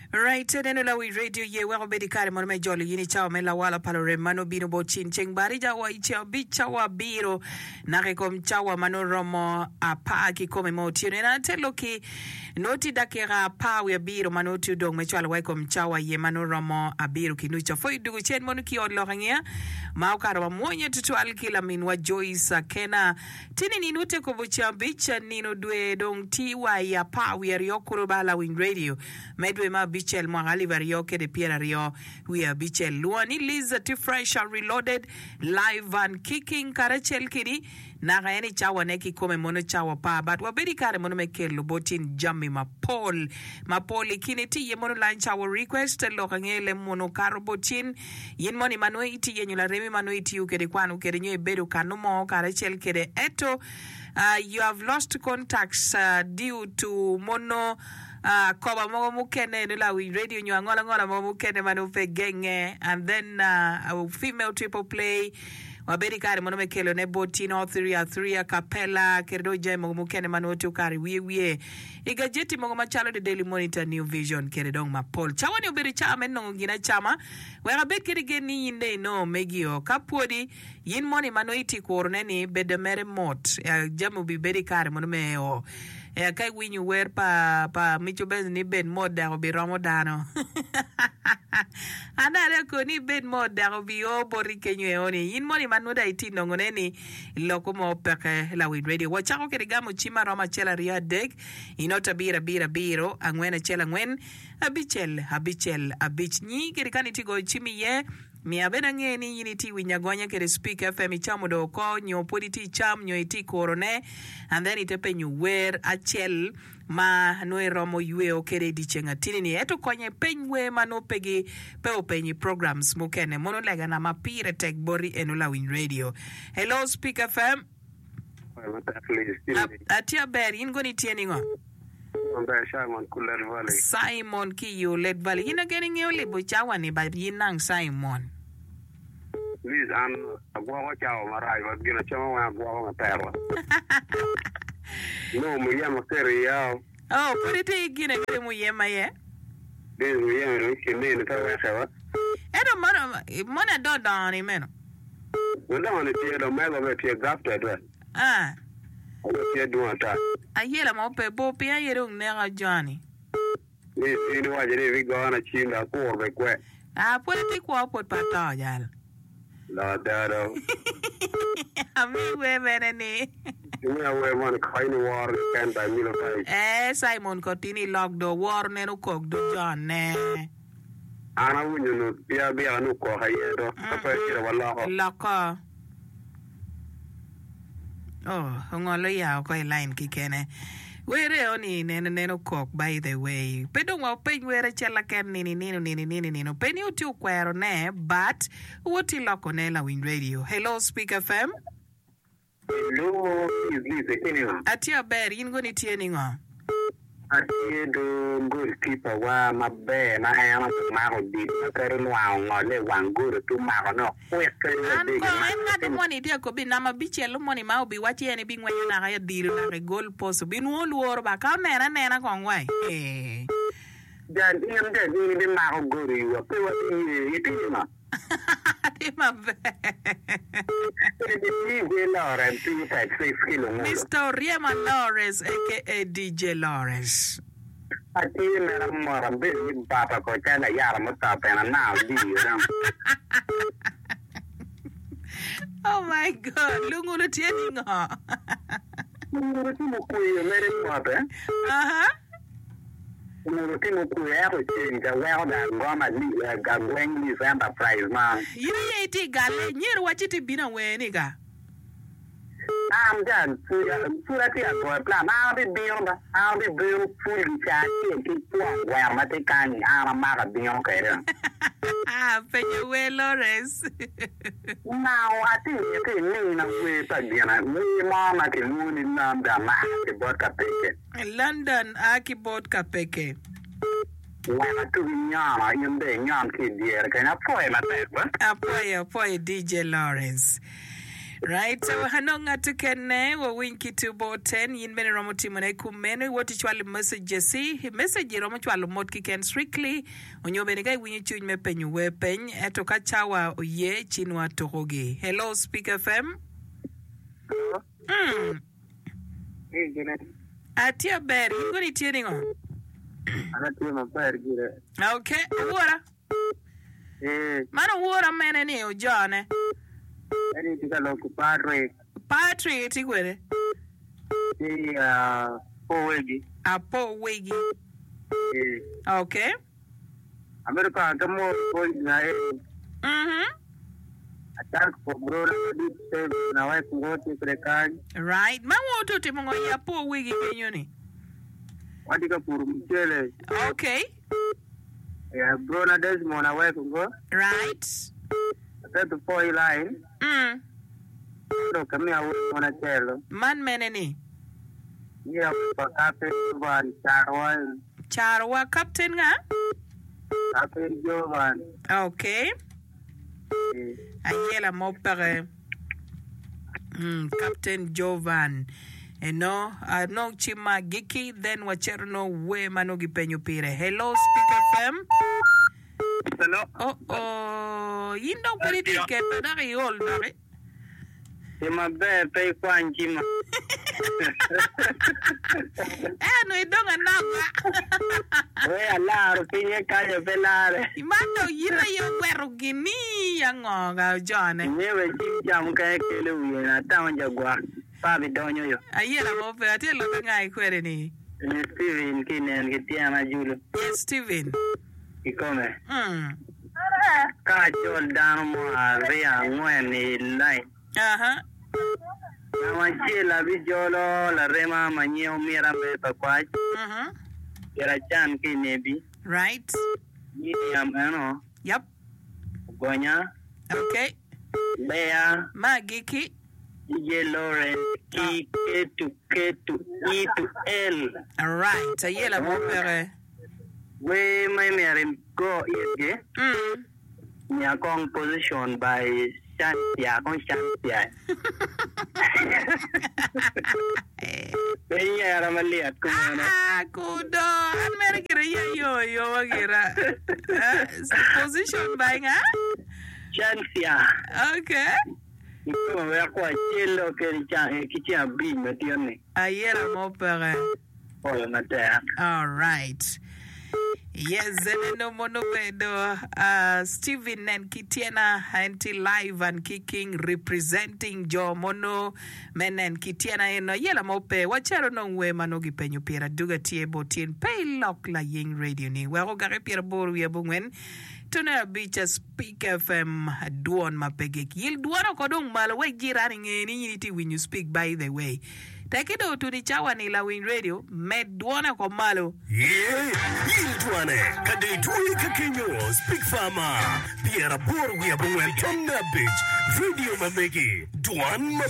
Right, neno lawi radio ye wek obed i kare mono me jolo yin i cawa me lawala pa lurem ma nongo bino bot cin ceng barija wa i ceng abic cawa abiro naka i kom cawa ma nongo romo apar ki kome mo otyeno. En atelo ki nongo tye dakika apar wiye abiro ma nongo tye odong me cwalo wa i kom cawa ye ma nongo romo abiro ki nucu. Apwoyo dugo cen mono ki ot lok angeya ma okato mamwonya tutwal ki laminwa Joyce Akena. Tye ni nino te kobo ceng abic nino dwe dong tye wa i apar wiye aryo kulu ba lawiny radio me dwe me abicel mwaka alip aryo kede pyeraryo wiye abicel. Lwonga ni Liz tye fresh and reloaded live and kicking karacel kedi naka en i cawa ne kikome mono cawa pa but wabedo i kare mono me kelo bot in jami mapol mapol i kine tye iye mono lunch hour request lok ange lem mono kato bot in In moni ma nongo itye yenyo laremi ma nongo itiyo kwede, ikwano kwede nyo ibedo kanu mo karacel kwede ento you have lost contacts due to mono koba mogo mukene nyo lawiny radio nyo angola ngola mogo mukene ma nongo pe genge and then female triple play wabedo i kare mono me kelo ne bot in all three a three a capella kede dong jami mogo mukene ma nongo tye okato i wiye wiye I gajeti mogo macalo The Daily Monitor, New Vision, kede dong mapol. Cawa-ni obedo cawa me nongo gin acama. Wek abed kede gen ni in dong inongo megi-o. Ka pwodi, in moni ma nongo itye kurone-ni, bedo mere mot. Jami obibedo i kare mono me eo. Ka iwinyo wer pa pa Mico Benz ni bed mot dek obiromo dano. An dong areko ni ibed mot dek obio boti kenyo eo-ni. In moni ma nongo dong itye nongone-ni, Loko mo peke lawiny radio. Wacako kede gamo cim maromo acel aryo adek i not abiro abiro abiro angwen acel angwen abicel abicel abic. Nyi kede ka nitye goyo cim iye, miyo abed ange ni in itye winyo agonya kede Speak FM icamo dong oko nyo pwod itye icam nyo itye kuro ne and then ite penyo wer acel ma nongo iromo yweo kede i dyeceng atini ni. Ento konye peny wer ma nongo pe gi pe openyo i programs mukene. Mono lega na ma pire tek boti eno lawiny radio. Hello Speak FM. Atye aber, in kono itye ningo? Aber Simon ki Olet Valley. Simon ki i Olet Valley. In ageno ingeyo libo cawa ni ba in nang Simon. Liz an agwoko cawa marac wa gin acama weng agwoko matek wa. Nongo muyeme aketo iya o. Oh, pud itye ki gine kede muyeme aye? Liz muyeme dong i kin nini pe weke wa. Ento mono mono ado dongo ni meno? Odongo ni tye dong mego bene tye grafted wa. Ah. Aye tye dwong ata. Ayela mo pe bor piny aye dong neka joni. Ni in iwaco ni ibigona cim dok akur bene kwe. Ah pwod atye kwo pwod pe ato jal. Lok ada do. Ami wer mene ni. Imiya wer moni kony ni woro keken by Milo Vibes. Eh Simon Kotini ilok do woro nen okok do jone. An awinyo nu pia byeka ni okok aye do ka pe acito waloko. Loko. Oh, ongolo ya oko i line kikene. Wer eo ni nene nene okok by the way. Pe dong wa openy wer acel aken nini nino nini nini nino. Pe ni wutye okwero ne but wutye loko ne lawiny radio. Hello Speak FM. Hello, Liz, Liz, itye ningo? Atye aber, in kono itye ningo? Atye do goalkeeper wa maber ma en omako odilo ma kadi olwango ongole i wang gol pe omako ne okwik kadi wa An dege kono en mako ngat timo moni tye akobi namba abicel moni ma obiwacci en ebingwenyo naka i odilo naka i goal post obinwongo lworo ba ka onene anena kong wai ee. Jal in jal in ibimako gol i wa pe wabiye itye ningo? Atye maber. DJ Lawrence 256 ki Lungulu. Mister Oryema Lawrence aka DJ Lawrence. Atye mere mot abedo ni bata ko calo layata mutop en anao diyo dong. Oh my God, Lungulu tye ningo? Lungulu tye mukweyo mere mot eh. Aha. Onongo tye mukwe ento ceng ca weko dong agomo agweng Leaf Enterprise ma. In aye itye i galle, myero iwac ci tye bino awer-ni ka. An jal pud atye ka goyo plan, an abibino ba, an abibino pul gica acel ki kwon gweno ma tye kany-ni, an amako abino kwede. Penyo wer Lawrence. Nao atye miti imina wer pa gin, wer mo ma kilwongo ni London ma a ki bot Kapeke. London a ki bot kapeke. Wek atugi nyono, in dong inyon ki i dyere kenyo. Apwoye matek ba. Apwoyo, apwoyo DJ Lawrence. Right, so anong ngat okene wawiny ki tu boten yin bene iromo timone kumeno iwot icwalo messages i message iromo cwalo mot kiken strictly onyo bene ka iwinyo cwiny me penyo wer peny ento ka cawa oye ci nwa tukugi. Hello Speak FM. Hello. Mm. Hey, gine. Atye aber, in kono itye ningo? An atye maber gire. Okay, owora. Ee. Man owora mene ni ojone? Eni itye ka lok ki Patrick. Patrick itye kwede? Ki apo wegi. Apo wegi. Ee. Okay. Amito kong ake mot bot nyo eni. Mhm. Acak for brona madit Stephen awek ngo tye kwede kany. Right. Ma wun oto timo ngo i apo wegi kenyo ni? Watye ka puro mucele. Okay. Yeah, brona Desmond aweko ngo. Right. Aketo po i line. Mm. Dok amiyo awek mon acel. Man mene ni? Miyo awek pa Captain Jovan Carowa. Carowa Captain nga? Captain Jovan. Okay. Ayela mo peke. Mm, Captain Jovan. Eno, anong cim ma agikki, then wacito no wer ma nongo gipenyo pire. Hello, Speak FM. Hello. Oh, oh, in dong pud itye keto dok iol doki. Tim maber pe ikwany cima. Eno idong anaka. We alaro pinye kanyo pe lare. Man dong in aye ogweto gini ango ga ojone. Inge we cim ca mukene kelo wiye na atamo jagwak pe abidonyo yo. Ayela mo pe atye lok anga ikwede ni. Ni Steven ki inen ki tyena julu. Yes Steven. Kikome. Mm. Ka acol dano mo aryo angwen i lain, Aha. ngat acel abijolo larema ma nyinge Omira me Pakwach, Mhm. Kiracan ki i Nebi, Right. Miriam eno, Yep. Ogonya, Okay. Lea, Ma agikki. DJ Lawrence ki Ketu Ketu E to L. Alright. Ayela mo peke. Wer ma imyero igo itgi miya kong position by Cynthia kong Cynthia pe inyera malyet kumeno. Ah, kudo an mere gira iya yo yo wa gira. Position by nga? Cynthia. Okay. Ikome wek wacel kede ki ceng abic matin ni. Ayela mo peke. Pwoyo matek. Alright. Yes, eneno mono obedo uh, Steven nen ki tyena en tye live and kicking representing jo mono me nen ki tyena eno ayela mo pe wacito nong wer ma nongo gipenyo pire aduga tye bot tyen pe ilok laying radio ni wek ogake pyeraboro wiye abongwen tone abic Speak FM dwon ma pe gik yil dwon oko dong malo wek jirani nge ni in itye winyo Speak by the way Tekke dong otuno i cawa-ni lawiny redio, med dwone oko malo. Ye, yil dwane ka dong itwoye ka kenyo, Speak Farmer, 85.5, redio ma megi, dwan ma.